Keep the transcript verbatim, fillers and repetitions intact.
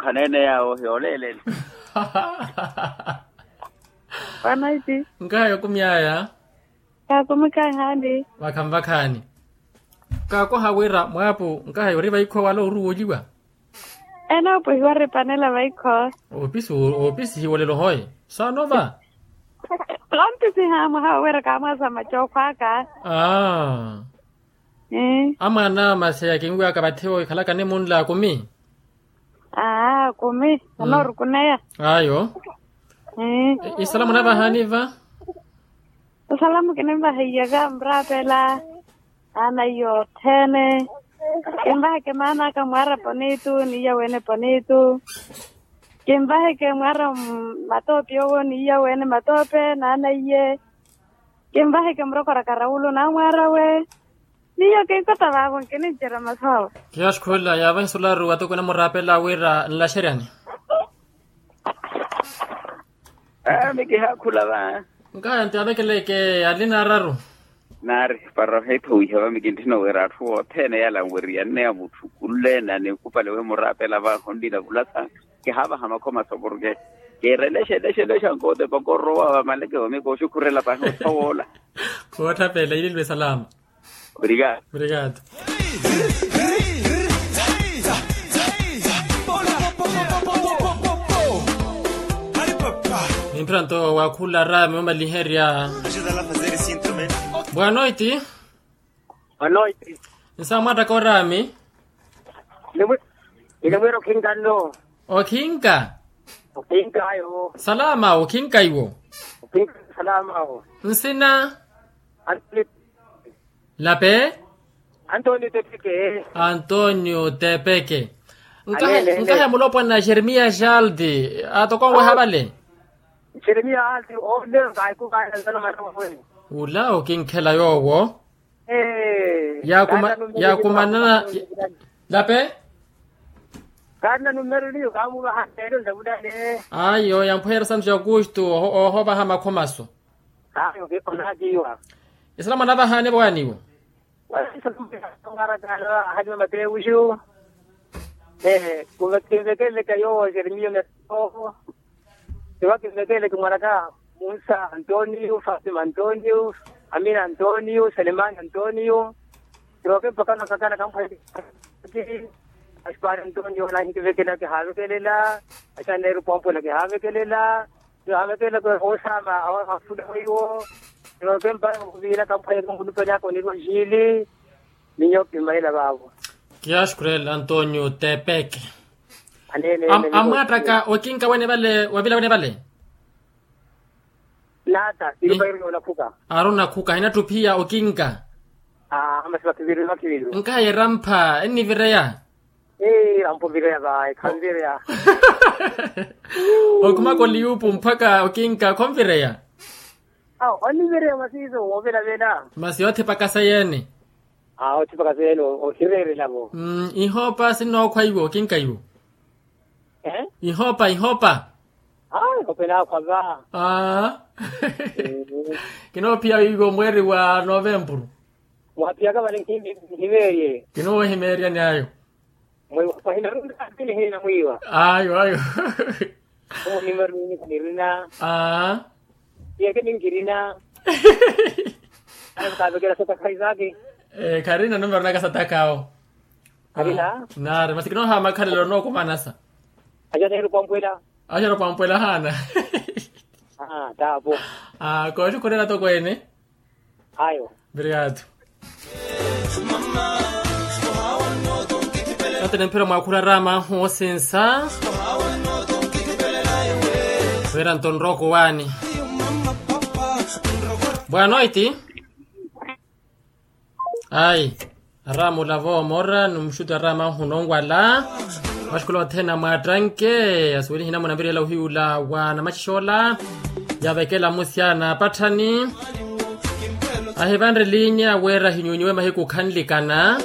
Aneene yaawo hiyooleelele. Wanaiti. Nkaha yokumyaya. Kaakumikhayi haani. Vakhanvakhaani. Kaakoha wira mwaapu nkaha yori vaikho wala oruwoliwa. Ene opwehiwa ripanela vaikho. Opisi opisihiwa olelo hoye. Saanova. Lompisiha mwaha wira kaamwaasa macookho aka. Aa. Amwaana maseya kinwiwaka vathi owo ikhalaka nimunla akumi. Aa akumi. Anoorukuneya. Ayo. Isalamu navahaani va. Isalamu kinimvaheiyaka muraapela. Naanaiye othene. Kinvaheke maan'aka mwaara ponitu n'iya wene ponitu. Kinvaheke mwaara matoopi owo n'iya wene matoopi naanaiye. Kinvaheke murokoraka rawulu naamwaarawe. Niyo kinkota vaavo nkinincerya masu awe. Kiyaxikhulela yaavahi sularu atokwene muraapela wira nlaxeryani. Aa mikihaakhula va. Nkaya nti avekeleke alina araru. Naari para ohiipha wiiha va mikintthina wira atthu othene yala anweriyanneya mutthu khulleene anikupale wimuraapela va honlina vulasa. Kihaavaha makhomaso porke kiirelexelexelexa nkoote pakorowa vamaleke vamikooxukhurela pahi ottha woola. Khootthapeela ililwe salama. Obrigado. Obrigado. Nimpira nto wakhula raami omaliherya. Bwanoiti. Nsaamwattaka oraami. Ilimwira okhinka nno. Okhinka. Okhinka ayo. Salama okhinka iwo. Okhinka salama awo. Nsina. Lape. Antonio tepeke. Antonio tepeke. Nkahe mulopwana jeremia jaldi. Atokonweha vale. Jeremia jaldi. Ole nkaikukaela nzano matawe. Ula okinkhela yoowo. Yaakumanana. Lape. Kaari na numero niyo kaamuvaha neelo ndavulale. Ayo yampweheryerya santu ja aukustu. Oohovaha makhomaso. Ayo onaakiwa. Isalamu anavahaani vawaaniwo. Wala isalamu anavahaani vamatewuxu. Kinvekeleke yoowo jeremiya myattooho. Tiwa kinvekeleke mwanaka, musa antonio fatima antonio, amina antonio selemani antonio. Tiwa kimpakana kakana kampwaki. Asipari antonio nahinkivekelela kihaavekelela. Asaneeru poompwela kihaavekelela. Kihaavekelela kwe osaama afuda weiwo. Tiwa kimpakana kuviira kampwaki kampwaki kampwaki kampwaki kampwaki kampwaki. Ninyo kimaila vaavo. Kiyaxukurela antonio tepeke. Amwaattaka okinka wene vale wavila wene vale. Naata. Aaru onakhuka. Hinatthu phiya okinka. Masi vakhiviru vakhiviru. Nkaha yerampha ennivireya. Erampa ovireya vayi khanvireya. Okhumaka oliyupu mpakha okinka khonvireya. Awo onnivireya masi iso woovelavela. Masi yoothipaka seyene. Awo othipaka seyene. Ohireerelavo. Ihoopa sinnookhwa iwo okinka iwo. Ihoopa ihoopa. Awo ihoopa enaakhwa va. Kinoophiya iwo mweeri wa novempuru. Mwaphiyaka vale nkimeerye. Kinoohimeeryani ayo. Mwiwa pahina runga pini hina mwiwa. Ayo ayo. Omuhima rwini kanirina. Aa. Iyeke ninkirina. Ayo kaavekela sataka isaki. Kharina numero naka sataka awo. Kharina. Naari masi kinoohamakhalelo nookumanasa. Ajaneeru pampwela. Ajaneeru pampwela haana. Aa taapo. Aa kooxukhurela tokweene. Ayo. Obrigado. Ate nimphira mwakhula raama hoosinsa. Wira nto nrooko waani. Bwanoiti. Ayi. Araama olavo moora ni muxuti araama ahunonwala. Maxukula othene amwaattanke asuwelihi namuna mviriyela ohiyula wa namaxixoola. Yavekela musyana apatthani. Ahivanre linya wira ahinyuunyiwe mahiku khanlikana.